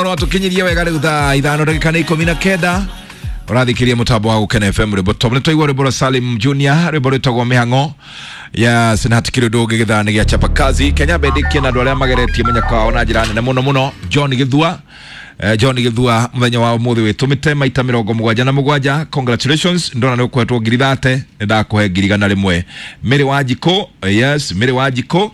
No tukinyirie wega riu thaa 5 ndagika nĩ 19 ũrathikiria mũtambo wa Gũkena FM rwĩmbo top nĩ twaigua rwĩmbo rwa Salim Junior rwĩmbo rwĩtagwo mĩhang'o. Yes, na hatikĩrĩ ũndũ ũngĩ gĩthaa nĩ gĩa chapa kazi Kenya bendikie na andũ arĩa mageretie mũnyaka wao na njĩra nene mũno mũno. John Gĩthua, John Gĩthua mũthenya wa ũmũthĩ wĩtũmĩte maita 77. Congratulations, ndona nĩ ũkũhetwo ngiri 30, nĩ ndakũhe ngiri 100. Mary Wanjikũ, yes, Mary Wanjikũ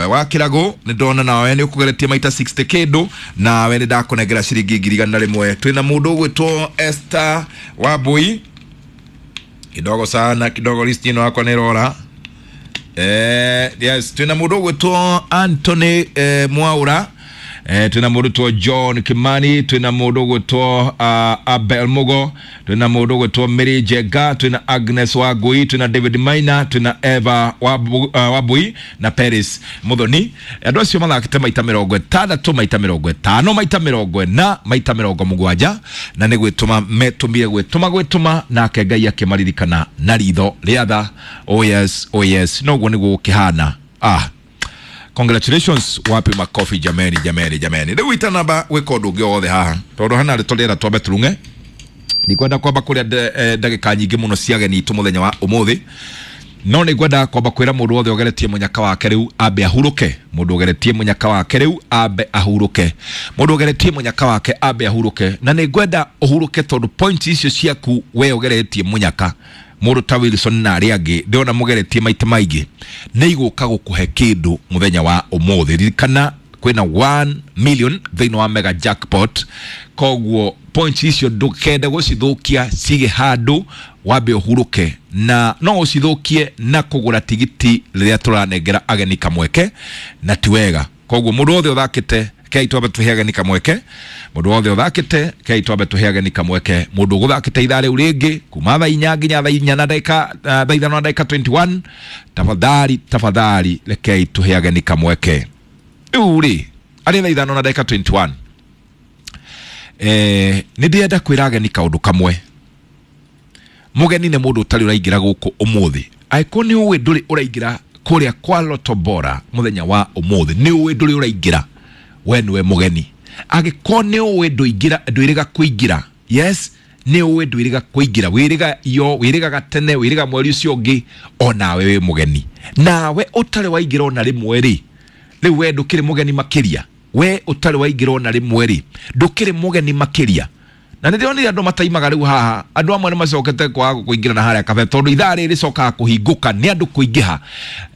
wa Kĩragũ, nĩ ndona nawe nĩ ũkũgeretie maita 60 kĩndũ, nawe nĩ ndakũnengera ciringi ngiri 100. Twĩna mũndũ ũgwĩtwo Esther Wambui, kidogo sana kidogo, list ĩno yakwa nĩ ĩrora. Yes, twĩna mũndũ ũgwĩtwo Anthony Mwaura, twĩna mũndũ ũgwĩtwo John Kimani, twĩna mũndũ ũgwĩtwo Abel Mugo, twĩna mũndũ ũgwĩtwo Mary Jenga, twĩna Agnes Wangui, twĩna David Maina, twĩna Eva Wambui na Paris Muthoni. Andũ acio mathakĩte maita 60, maita 50, maita 40, maita 70, na nĩ gwĩtũma metũmire gwĩtũma nake Ngai akĩmaririkana na ritho rĩa tha. Oh yes, oh yes, noguo nĩguo gũkĩhana. Congratulations, wapi makofi jameni, jameni, jameni. Rĩu itanamba gwĩka ũndũ ũngĩ o wothe haha, tondũ hana rĩtwa rĩera twambe turung'e, ndikwenda kwamba kũrĩa ndagĩka nyingĩ mũno cia ageni itũ mũthenya wa ũmũthĩ, no nĩ ngwenda kwamba kwĩra mũndũ wothe ũgeretie mũnyaka wake rĩu ambe ahurũke. Mũndũ ũgeretie mũnyaka wake rĩu ambe ahurũke. Mũndũ ũgeretie mũnyaka wake ambe ahurũke. Na nĩ ngwenda ũhurũke tondũ point icio ciaku we ũgeretie mũnyaka, mũndũ ta Wilson na arĩa angĩ ndĩrona mũgeretie maita maingĩ, nĩ igũka gũkũhe kĩndũ mũthenya wa ũmũthĩ. Ririkana kwĩna 1 million thĩinĩ wa mega jackpot, koguo points icio ndũkende gũcithũkia, cige handũ wambe ũhurũke, na no ũcithũkie na kũgũra tigiti rĩrĩa tũranengera ageni kamweke, na ti wega. Koguo mũndũ wothe ũthakĩte, kei twambe tũhe ageni kamweke. Mũndũ wothe ũthakĩte, kei twambe tũhe ageni kamweke. Mũndũ ũgũthakĩte ithaa rĩu rĩngĩ kuma thaa 4 nginya thaa 4 na ndagĩka thaa 5 na ndagĩka 21, tafadhali tafadhali rekei tũhe ageni kamweke. Rĩu rĩ arĩ thaa 5 na ndagĩka 21, nĩ ndĩrenda kwĩra ageni kaũndũ kamwe. Mũgeni nĩ mũndũ ũtarĩ ũraingĩra gũkũ ũmũthĩ. Angĩkorwo nĩ ũĩ ndũrĩ ũraingĩra kũrĩa kwa Lotto Bora mũthenya wa ũmũthĩ, nĩ ũĩ ndũrĩ ũraingĩra, we nĩwe mũgeni. Angĩkorwo nĩ ũĩ ndũingĩra, ndwĩrĩga kũingĩra, yes, nĩ ũĩ ndwĩrĩga kũingĩra, wĩrĩga yo, wĩrĩgaga tene, wĩrĩga mweri ũcio ũngĩ, onawe wĩ mũgeni. Nawe ũtarĩ waingĩra ona rĩmwe rĩ, rĩu we ndũkĩrĩ mũgeni makĩria. We ũtarĩ waingĩra ona rĩmwe rĩ, ndũkĩrĩ mũgeni makĩria. Na nĩ ndĩronire andũ mataimaga rĩu haha, andũ amwe nĩ macokete kwaga kũingĩra na harĩa kabe, tondũ ithaa rĩrĩ rĩcokaga kũhingũka nĩ andũ kũingĩha,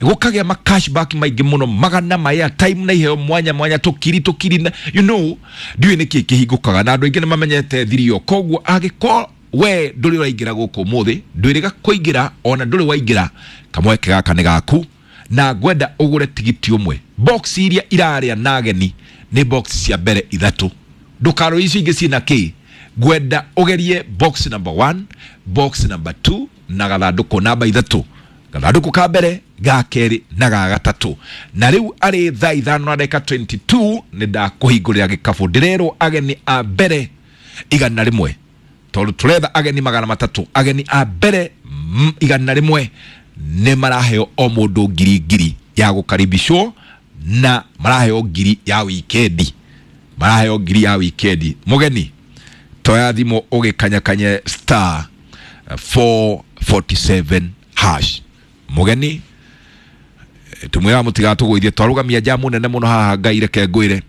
gũkagĩa ma cashback maingĩ mũno, magana ma airtime na iheo mwanya mwanya, tũkiri tũkiri na, you know, ndiũĩ nĩkĩ kĩhingũkaga, na andũ aingĩ nĩ mamenyete thiri ĩyo. Koguo angĩkorwo we ndũrĩ ũraingĩra gũkũ ũmũthĩ, ndwĩrĩga kũingĩra, ona ndũrĩ waingĩra, kamweke gaka nĩ gaku, na ngwenda ũgũre tigiti ũmwe. Box iria irarĩa na ageni nĩ box cia mbere 3, ndũkarore icio ingĩ ciĩna kĩ. Ngwenda ũgerie box number 1, box number 2 na gathandũkũ namba 3, gathandũkũ ka mbere, ga kerĩ na ga gatatũ. Na rĩu arĩ thaa 5 na ndagĩka 22 nĩ ndakũhingũrĩra gĩkabũ. Ndĩrerwo ageni a mbere 100, tondũ tũretha ageni 300. Ageni a mbere 100 nĩ maraheo o mũndũ ngiri ngiri ya gũkaribishwo, na maraheo ngiri ya wikendi, maraheo ngiri ya wikendi. Mũgeni toya thimũ ũgĩkanyakanye star 447 hash. Mũgeni tumwĩra mũtigatũgũithie, twarũgamia jamu nene mũno haha, Ngai reke ngwĩre,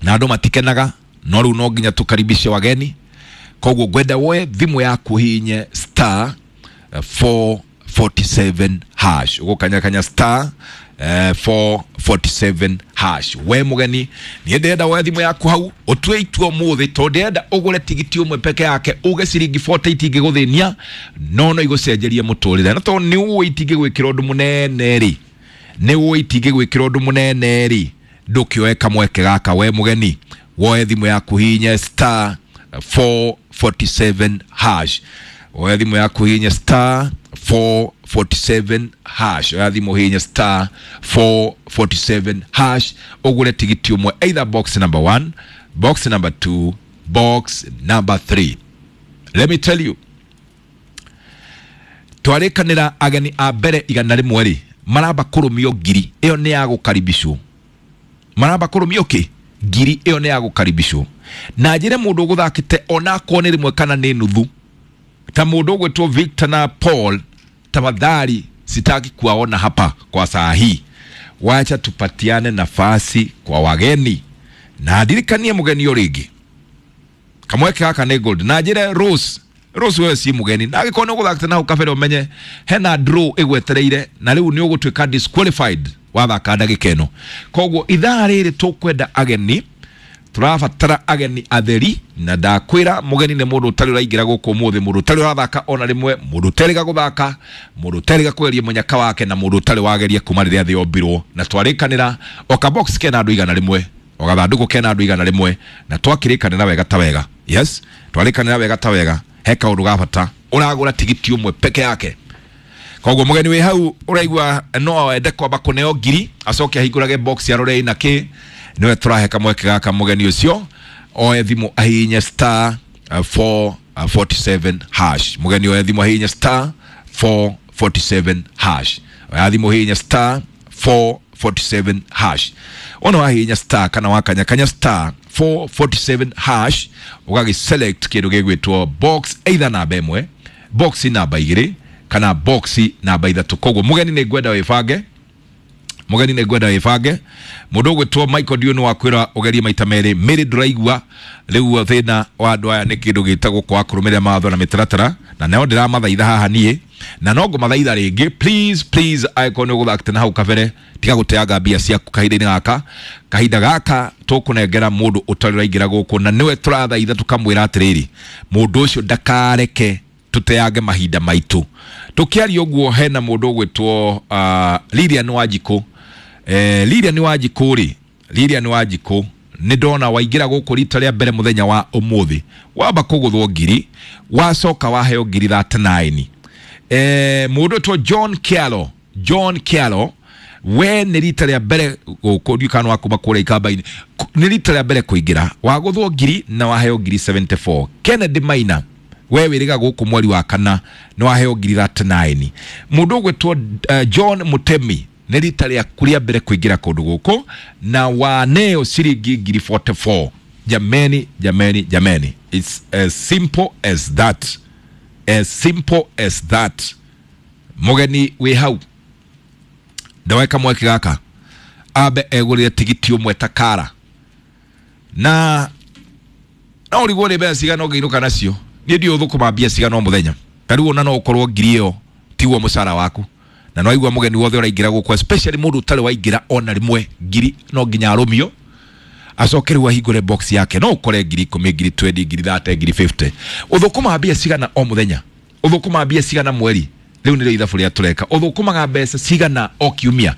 na andũ matikenaga, no rĩu no nginya tũkaribishe wageni. Koguo ngwenda woe thimũ yaku hihinye star 447 hash, ũgũkanyakanya star 447 hash. We mũgeni, niĩ ndĩrenda woe thimũ yaku hau ũtue itua ũmũthĩ, tondũ ndĩrenda ũgũre tigiti ũmwe peke yake, uge ciringi 40 itingĩgũthĩnia, no no igũcenjerie mũtũrĩre. Na tondũ nĩ ũĩ itingĩgwĩkĩra ũndũ mũnene rĩ, nĩ ũĩ itingĩgwĩkĩra ũndũ mũnene rĩ, ndũkĩoe kamweke gaka. We mũgeni, woe thimũ yaku hihinye star 447 hash. Woe thimũ yaku hihinye star 447 hash. Oya thimũ hihinye star 447 hash, ũgũre tigiti ũmwe, either box number 1, box number 2, box number 3. Let me tell you, twarĩkanĩra ageni a mbere 100 rĩ, maramba kũrũmio ngiri ĩyo nĩ ya gũkaribishwo, maramba kũrũmio kĩ Ngiri ĩyo nĩ ya gũkaribishwo. Na njĩre mũndũ ũgũthakĩte onakorwo nĩ rĩmwe kana nĩ nuthu, ta mũndũ ũgwĩtwo Victor na Paul, tafadhali sitaki kuwaona hapa kwa saa hii. Wacha tupatiane nafasi kwa wageni. Na ndirikanie mũgeni o rĩngĩ, kamweke gaka nĩ gold. Na njĩre Rose, Rose wewe si mũgeni, na angĩkorwo nĩ ũgũthakĩte na kabere ũmenye hena draw ĩgwetereire, na rĩu nĩ ũgũtuĩka disqualified wathaka ndagĩka ĩno. Koguo ithaa rĩrĩ tũkwenda ageni, tũrabatara ageni atheri. Na ndakwĩra mũgeni nĩ mũndũ ũtarĩ ũraingĩra gũkũ ũmũthĩ, mũndũ ũtarĩ ũrathaka ona rĩmwe, mũndũ ũterĩga gũthaka, mũndũ ũterĩga kũgeria mũnyaka wake, na mũndũ ũtarĩ wageria kuma rĩrĩa thĩ yombirwo. Na twarĩkanĩra o kabox kena andũ 100, o gathandũkũ kena andũ 100, na twakĩrĩkanĩra wega ta wega. Yes, twarĩkanĩra wega ta wega. He kaũndũ ga bata, ũragũra tigiti ũmwe peke yake. Koguo mũgeni wĩ hau ũraigua no ende kwamba kũneo ngiri acoke ahingũrage box arore ina kĩ, niwe tũrahe kamweke gaka. Mũgeni ũcio oe thimũ ahihinye star 447 hash. Mũgeni oe thimũ ahihinye star 447 hash. Oya thimũ hihinya star 447 hash. Ona wahihinya star kana wakanya kanya star 447 hash, ũgagĩ select kĩndũ gĩgwĩtwo box, either namba ĩmwe, box namba igĩrĩ, kana box namba ithatũ. Koguo mũgeni nĩ ngwenda wĩbange, mũgeni nĩ ngwenda wĩbange. Mũndũ ũgwĩtwo Michael Dio nĩ wakwĩra ũgerie maita merĩ mĩrĩ ndũraigua. Rĩu thĩna wa andũ aya nĩ kĩndũ gĩtagwo kwaga kũrũmĩrĩra mawatho na mĩtaratara, na nao ndĩramathaitha haha niĩ, na no ngũmathaitha rĩngĩ, please please, angĩkorwo nĩ ũgũthakĩte na hau kabere, tiga gũteanga mbia ciaku kahinda-inĩ gaka. Kahinda gaka tũkũnengera mũndũ ũtarĩ ũraingĩra gũkũ, na nĩwe tũrathaitha tũkamwĩra atĩrĩrĩ, mũndũ ũcio ndakareke tũteange mahinda maitũ. Tũkĩaria ũguo, hena mũndũ ũgwĩtwo Lilian Wanjikũ. Lilian Wanjikũ rĩ, Lilian Wanjikũ nĩ ndona waingĩra gũkũ rita rĩa mbere mũthenya wa ũmũthĩ, wamba kũgũthwo ngiri, wacoka waheo ngiri 39. Mũndũ ũtwo John Kialo, John Kialo, we nĩ rita rĩa mbere gũkũ, ndiũĩ kana wakuma kũrĩa ikamba-inĩ, nĩ rita rĩa mbere kũingĩra, wagũthwo ngiri na waheo ngiri 74. Kennedy Maina, we wĩrĩga gũkũ mweri wa kana, nĩ waheo ngiri 39. Mũndũ ũgwĩtwo John Mutemi, nĩ rita rĩaku rĩa mbere kũingĩra kũndũ gũkũ, na waneo ciringi ngiri 44. Jameni, jameni, jameni, it's as simple as that, as simple as that. Mũgeni wĩ hau, ndaweka mweke gaka ambe egũrĩre tigiti ũmwe ta kara, na no ũrigwo nĩ mbeca cigana ũngĩinũka nacio. Niĩ ndiũĩ ũthũkũma mbia cigana o mũthenya. Ta rĩu ona no ũkorwo ngiri ĩyo tiguo mũcara waku, na no aigua mũgeni wothe ũraingĩra gũkũ, especially mũndũ ũtarĩ waingĩra ona rĩmwe, ngiri no nginya arũmio acoke rĩu ahingũre box yake. No ũkore ngiri 10, ngiri 20, ngiri 30, ngiri 50. Ũthũkũmaga mbia cigana o mũthenya? Ũthũkũmaga mbia cigana mweri? Rĩu nĩrĩo ithabu rĩa tũreka. Ũthũkũmaga mbeca cigana o kiumia?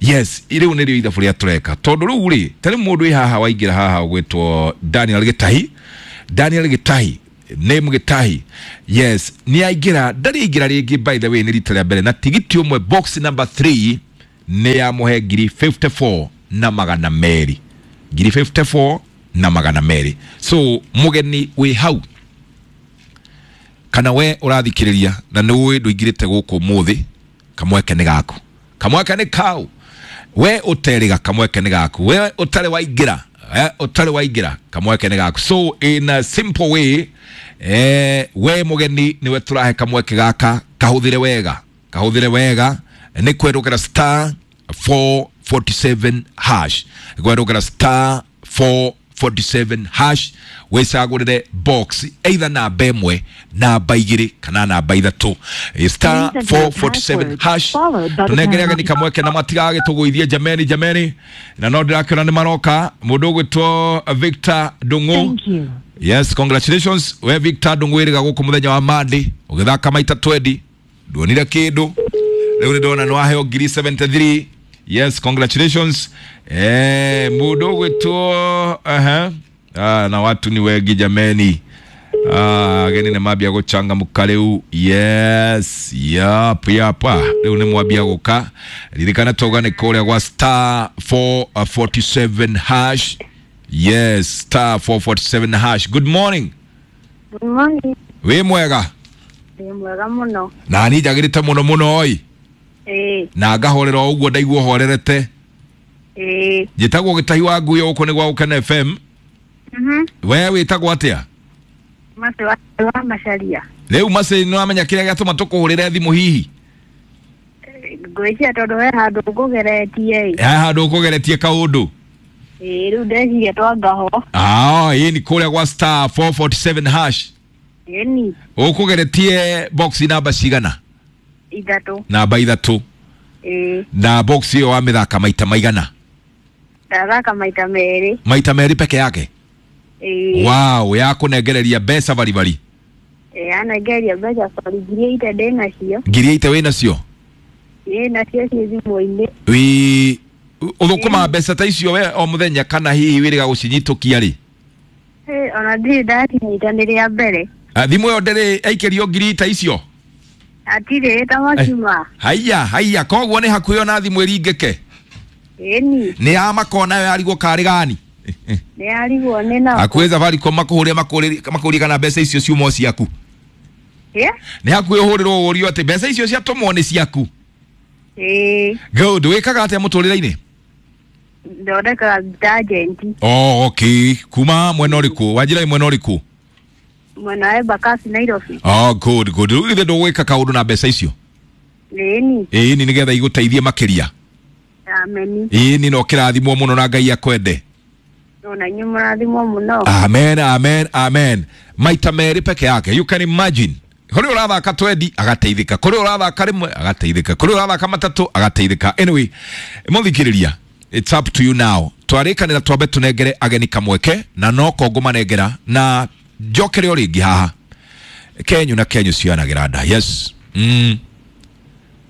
Yes, rĩu nĩrĩo ithabu rĩa tũreka. Tondũ rĩu rĩ, ta rĩu mũndũ wĩ haha waingĩra haha ũgwĩtwo Daniel Gĩtahi, Daniel Gĩtahi, name Gĩtahi, yes, nĩ aingĩra, ndarĩ aingĩra rĩngĩ, by the way, nĩ rita rĩa mbere, na tigiti ũmwe box number 3 nĩ yamũhe ngiri 54 na magana merĩ, ngiri 54 na magana merĩ. So mũgeni wĩ hau, kana we ũrathikĩrĩria na nĩ ũĩ ndũingĩrĩte gũkũ ũmũthĩ, kamweke nĩ gaku, kamweke nĩ kau. We ũterĩga, kamweke nĩ gaku. We ũtarĩ waingĩra, ũtarĩ waingĩra, kamweke nĩ gaku. So in a simple way, we mũgeni nĩwe tũrahe kamweke gaka, kahũthĩre wega, kahũthĩre wega. Nĩ kwerũkĩra star 447 hash, kwerũkĩra star 447 hash, wĩcagũrĩre box either namba ĩmwe, namba igĩrĩ, kana namba ithatũ. Star Please enter your 447 password, hash. followed by the Tũnengere pound ageni kamweke na matigagĩtũgũithie. Jameni, jameni, na no ndĩrakĩona nĩ maroka. Mũndũ ũgwĩtwo Victor Ndung'u. Thank you. Yes, congratulations we Victor Ndung'u, wĩrĩga gũkũ mũthenya wa Monday, ũgĩthaka maita 20, nduonire kĩndũ. Rĩu nĩ ndona nĩ waheo ngiri 73. Yes, congratulations. Mũndũ ũgwĩtwo aha. Ah, na watu ni wengi jameni. Ah, ageni nĩ mambia gũchangamka rĩu. Yes, yap yap. Ah, rĩu nĩ mwambia gũka. Ririkana tauga nĩ kũrĩa gwa star 447 hash. Yes, star 447 hash. Good morning. Good morning. Wĩ mwega? Ndĩ mwega mũno. Na niĩ njagĩrĩte mũno mũno oi. Ĩĩ, Na ngahorera o ũguo ndaigua horerete. Ĩĩ. Njĩtagwo Gĩtahi wa Ngui, gũkũ nĩ gwa Gũkena FM. We wĩtagwo atĩa? Mace wa Macaria. Rĩu Mace, nĩ wamenya kĩrĩa gĩatũma tũkũhũrĩre thimũ hihi? Ngwĩciria tondũ he handũ ngũgeretie ĩ. He handũ ũkũgeretie kaũndũ. Ĩĩ, rĩu ndeciria twangaho. Ah, ĩĩ, ni kũrĩa gwa star 447 hash. Ĩni. Ũkũgeretie box namba cigana? 3. Namba 3. Ĩĩ. Na box ĩyo wamĩthaka maita maigana? Ndathaka maita 2. Maita 2 peke yake? Ĩĩ. Wow, yakũnengereria mbeca baribari. Ĩĩ, yanengereria mbeca bari 8,000 ndĩ nacio. 8,000 wĩ nacio? Ĩĩ, nacio ciĩ thimũ-inĩ. Wĩ ũthũkũmaga mbeca ta icio we o mũthenya kana hihi wĩrĩga gũcinyitũkia rĩ? Ĩĩ, ona ndirĩ ndacinyita, nĩ rĩa mbere. Thimũ ĩyo ndĩrĩ aikĩrio ngiri ta icio? Hatirĩ ta macuma. Haiya haiya, koguo nĩ hakuhĩ ona thimũ ĩringĩke. Ĩni. Nĩ ya makona yo yarigwo karĩ gani? Nĩ yarigwo nĩ nako. Hakuhĩ Safaricom makũhũrĩre makũrie kana mbeca icio ciuma o ciaku. Ĩ? Nĩ hakuhĩ ũhũrĩrwo ũrio atĩ mbeca icio ciatũmwo nĩ ciaku. Ĩĩ. Good, wĩkaga atĩa mũtũrĩre-inĩ? Thondekaga detergent. Oh, okay. Kuma mwena ũrĩkũ? Wanjĩra mwena ũrĩkũ? Mwena wa Embakasi, Nairobi. Oh, good, good. Rĩu githĩ ndũgwĩka kaũndũ na mbeca icio? Ĩni. Ĩni, nĩgetha igũteithie makĩria. Ameni. Ĩni, no kĩrathimwo mũno na Ngai akwende. Ona inyuĩ mũrathimwo mũno. Amen, amen, amen. Maita 2 peke yake. You can imagine. Kũrĩ ũrathaka 20 agateithĩka, kũrĩ ũrathaka 1 agateithĩka, kũrĩ ũrathaka 3 agateithĩka. Anyway, mũthikĩrĩria, it's up to you now. Twarĩkanĩra twambe tũnengere ageni kamweke na no ko ngũmanengera na njokere o rĩngĩ haha. Kenyu na kenyu cianagĩra nda. Yes.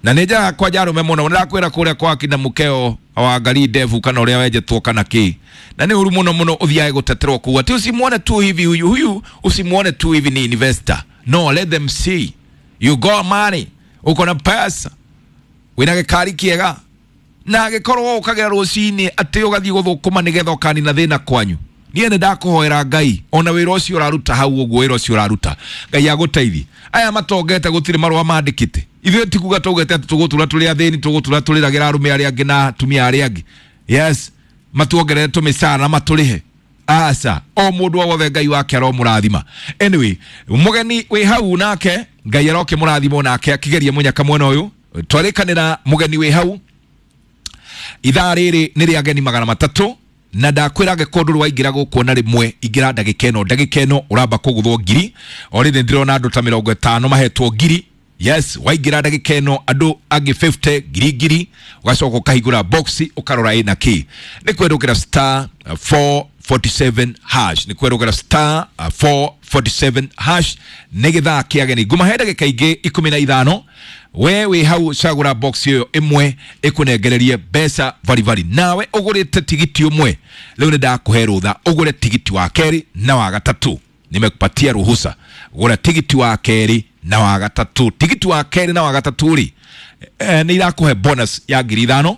Na nĩ njaga kwanja arũme mũno, nĩndakwĩra kũrĩa kwa kina mũkeo wangarii ndevu kana ũrĩa wenjetwo kana kĩ, na nĩ ũru mũno mũno ũthiage gũteterwo kũu atĩ usimuone tu hivi huyu huyu, usimuone tu hivi ni investor. No, let them see you got money, uko na pesa, wĩna gĩkari kĩega, na angĩkorwo ũkagĩra rũcinĩ atĩ ũgathiĩ gũthũkũma nĩgetha ũkanina thĩna kwanyu. Niĩ nĩ ndakũhoera Ngai ona wĩra ũcio ũraruta hau ũguo, wĩra ũcio ũraruta Ngai agũteithie. Aya matongete gũtirĩ marũa mandĩkĩte, ithuĩ ti kuga twaugĩte atĩ tũgũtũra tũrĩ athĩni, tũgũtũra tũrĩragĩra arũme arĩa angĩ na atumia arĩa angĩ. Yes, matuongerere tũmĩcara na matũrĩhe. Aca, o mũndũ o wothe Ngai wake aromũrathima. Anyway, mũgeni wĩ hau nake Ngai arokĩmũrathima nake akĩgeria mũnyaka mwena ũyũ. Twarĩkanĩra mũgeni wĩ hau ithaa rĩrĩ nĩ rĩa ageni 300, na ndakwĩra angĩkorwo ndũrĩ waingĩra gũkũ na rĩmwe, ingĩra ndagĩka ĩno, ndagĩka ĩno ũramba kũgũthwo 1,000. O rĩrĩ ndĩrona andũ ta 50 mahetwo 1,000. Yes, waingĩra ndagĩka ĩno andũ angĩ 50 ngiri, ũgacoka ũkahingũra box ũkarora ĩna kĩ. Nĩ kwerũkĩra star 447 hash, nĩ kwerũkĩra star 447 hash nĩ gĩthaa kĩa ageni. Ngũmahe ndagĩka ingĩ 15. We wĩ hau cagũra box ĩyo ĩmwe ĩkũnengererie mbeca baribari, nawe ũgũrĩte tigiti ũmwe. Rĩu nĩ ndakũhe rũtha ũgũre tigiti wa kerĩ na wa gatatũ. Nimekupatia ruhusa, gũra tigiti wa kerĩ na wa gatatũ. Tigiti wa kerĩ na wa gatatũ rĩ, nĩ irakũhe bonus ya 5,000.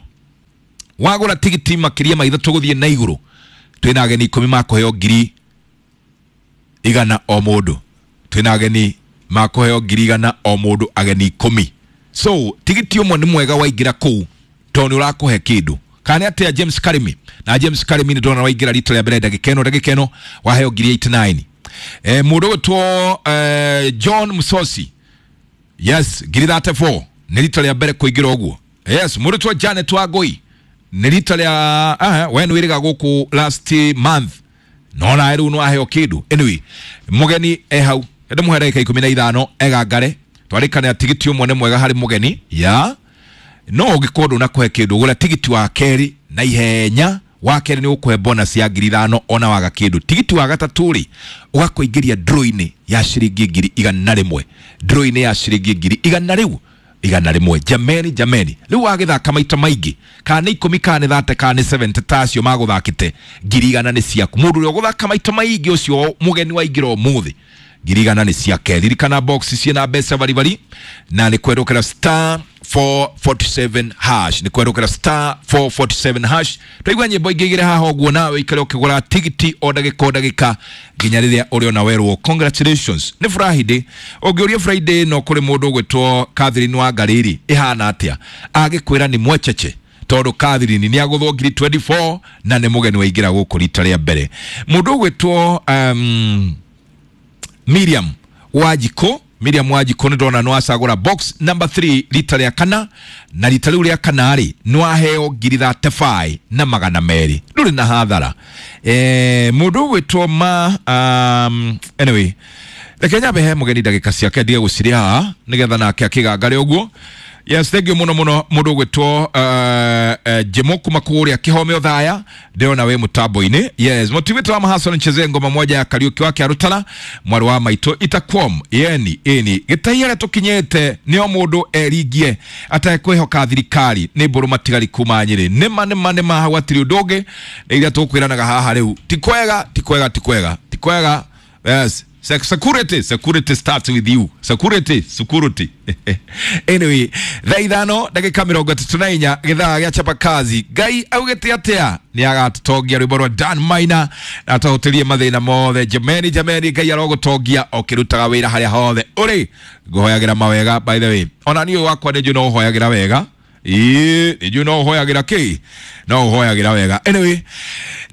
Wagũra tigiti makĩria ma 3 gũthiĩ na igũrũ, twĩna ageni 10 makũheo 100,000 o mũndũ. Twĩna ageni makũheo 100,000 o mũndũ, ageni 10. So tigiti ũmwe nĩ mwega waingĩra kũu tondũ nĩ ũrakũhe kĩndũ. Kana nĩ atĩa James Karimi? Na James Karimi nĩ ndona waingĩra rita rĩa mbere ndagĩka ĩno, ndagĩka ĩno waheo 89,000. Mũndũ ũgwĩtwo John Musosi, yes, 34,000 nĩ rita rĩa mbere kũingĩra ũguo. Yes, mũndũ ũgwĩtwo Janet Wangũi nĩ rita rĩa we nĩ wĩrĩga gũkũ last month, no nawe rĩu nĩ waheo kĩndũ. Anyway, mũgeni e hau, ndĩmũhe ndagĩka 15 egangare. Twarĩkanĩra tigiti ũmwe nĩ mwega harĩ mũgeni ya no ũngĩkorwo ndũnakũhe kĩndũ, gũra tigiti wa kerĩ na ihenya. Wa kerĩ nĩ ũkũhe bonus ya 5,000 ona waga kĩndũ. Tigiti wa gatatũ rĩ, ũgakũingĩria draw-inĩ ya ciringi 100,000, draw-inĩ ya ciringi 100,000 rĩu 101. Jameni, jameni, rĩu wagĩthaka maita maingĩ, kana nĩ 10 kana nĩ 30 kana nĩ 70 tacio magũthakĩte, 100,000 nĩ ciaku. Mũndũ ũrĩa ũgũthaka maita maingĩ ũcio mũgeni waingĩra ũmũthĩ, 100,000 nĩ ciake. Ririkana box ciĩna mbeca baribari, na nĩ kwerũkĩra star 447 hash, nĩ kwerũkĩra star 447 hash. Twaigua nyĩmbo ingĩ igĩrĩ haha ũguo, nawe ũikare ũkĩgũra tigiti o ndagĩka o ndagĩka nginya rĩrĩa ũrĩona werwo congratulations. Nĩ Friday, ũngĩũria Friday no kũrĩ mũndũ ũgwĩtwo Catherine Wangarĩrĩ ĩhana atĩa, agĩkwĩra nĩ mwecheche. Tondũ Catherine nĩ agũthwo ngiri 24 na nĩ mũgeni waingĩra gũkũ rita rĩa mbere. Mũndũ ũgwĩtwo Miriam Wanjikũ, Miriam Wanjikũ nĩ ndona nĩ wacagũra box number 3 rita rĩa kana, na rita rĩu rĩa kana rĩ nĩ waheo ngiri 35 na magana merĩ, ndũrĩ na hathara. Mũndũ ũgwĩtwo ma anyway, reke nyambe he mũgeni ndagĩka ciake ndige gũcirĩ haha nĩgetha nake akĩgangare ũguo. Yes, thank you muno muno mũndũ ũgwĩtwo Jemo kuma kũrĩa Kĩhome Othaya, ndĩrona wĩ mũtambo-inĩ. Yes, mũtiwĩtwo wa Mahason ncheze ngoma moja ya Kariuki wake Arutala mwarĩ wa maitũ itakwom yeni ĩni gĩtai harĩa tũkinyĩte nĩo mũndũ eringie atekwĩhoka thirikari nĩ mbũrũ matigari kuma Nyĩrĩ. Nĩma nĩma nĩma, hau hatirĩ ũndũ ũngĩ, nĩ iria tũkwĩranaga haha rĩu. Ti kwega, ti kwega, ti kwega, ti kwega. Yes. Security, security starts with you. Security, security. Anyway, thaa 5 ndagĩka 34 gĩthaa gĩa chapa kazi. Ngai augĩte atĩa? Nĩ agatũtongia rwĩmbo rwa Dan Maina na atũhũtĩrie mathĩna mothe. Jameni, jameni, Ngai arogũtongia ũkĩrutaga wĩra harĩa hothe ũrĩ. Ngũhoyagĩra mawega, by the way. Ona niĩ wakwa nĩ njũĩ no ũhoyagĩra wega. Ĩĩ, nĩ njũĩ no ũhoyagĩra kĩ? No ũhoyagĩra wega. Anyway,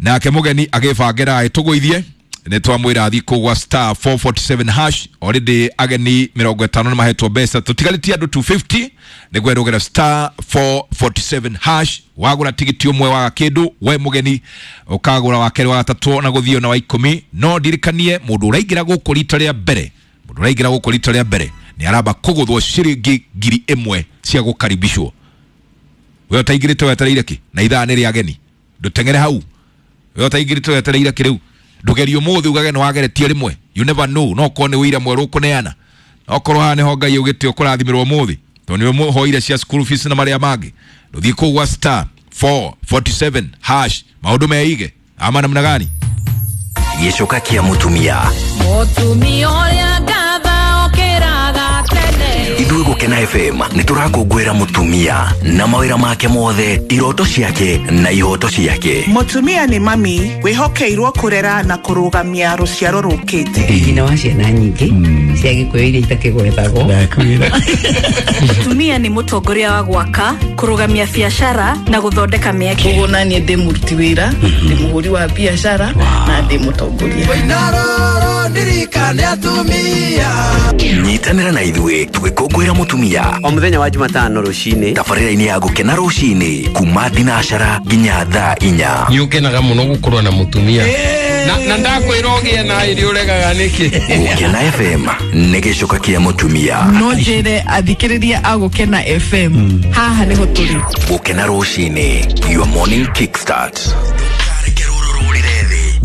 nake mũgeni agĩbangĩra agĩtũgũithie nĩ twamwĩra thiĩ kũu gwa star 447 hash. Already ageni 50 nĩ mahetwo mbeca, tũtigarĩtie andũ 250 nĩguo erũgĩra star 447 hash. Wagũra tigiti ũmwe waga kĩndũ, we mũgeni ũkagũra wa kerĩ, wa gatatũ na gũthiĩ ona wa 10. No ndirikanie mũndũ ũraingĩra gũkũ rita rĩa mbere, mũndũ ũraingĩra gũkũ rita rĩa mbere nĩ aramba kũgũthwo ciringi ngiri 1 cia gũkaribishwo. We ũtaingĩrĩte wetereire kĩ? Na ithaa nĩ rĩa ageni, ndũteng'ere hau. We ũtaingĩrĩte wetereire kĩ rĩu? Ndũgerie ũmũthĩ ugage nĩ wageretie rĩmwe, you never know, no korwo nĩ wĩira mwerũ ũkũneana, no korwo haha nĩho Ngai augĩte ũkũrathimĩrwo ũmũthĩ tondũ nĩwe mũhoire cia school fees na marĩa mangĩ. Ndũthiĩ kũu gwa star 447 hash, maũndũ meige ama namna gani? Gĩcoka kĩa mũtumia. Mũtumia ũrĩa ngatha okĩraga tene. Ithuĩ Gũkena FM nĩ tũrakũngũĩra mũtumia na mawĩra make mothe, iroto ciake na ihoto ciake. Mũtumia nĩ mami wĩhokeirwo kũrera na kũrũgamia rũciaro rũkĩte. Nyina wa ciana nyingĩ cia Gĩkũyũ iria itakĩgwetagwo. Mũtumia nĩ mũtongoria wa gwaka, kũrũgamia biacara na gũthondeka mĩeke. Koguo naniĩ ndĩ mũruti wĩra, ndĩ mũhũri wa biacara na ndĩ mũtongoria. Nyitanĩra na ithuĩ tũgĩkũngũĩra mũtumia o mũthenya wa Jumatano rũcinĩ, tabarĩra-inĩ ya Gũkena rũcinĩ kuma thinacara nginya thaa 4. Nĩ ũkenaga mũno gũkorwo na mũtumia na ndakwĩra ũgĩe na ĩrĩ ũregaga nĩkĩ? Gũkena FM nĩ gĩcoka kĩa mũtumia. No njĩre athikĩrĩria a Gũkena FM haha nĩho tũrĩ. Gũkena rũcinĩ, your morning kickstart.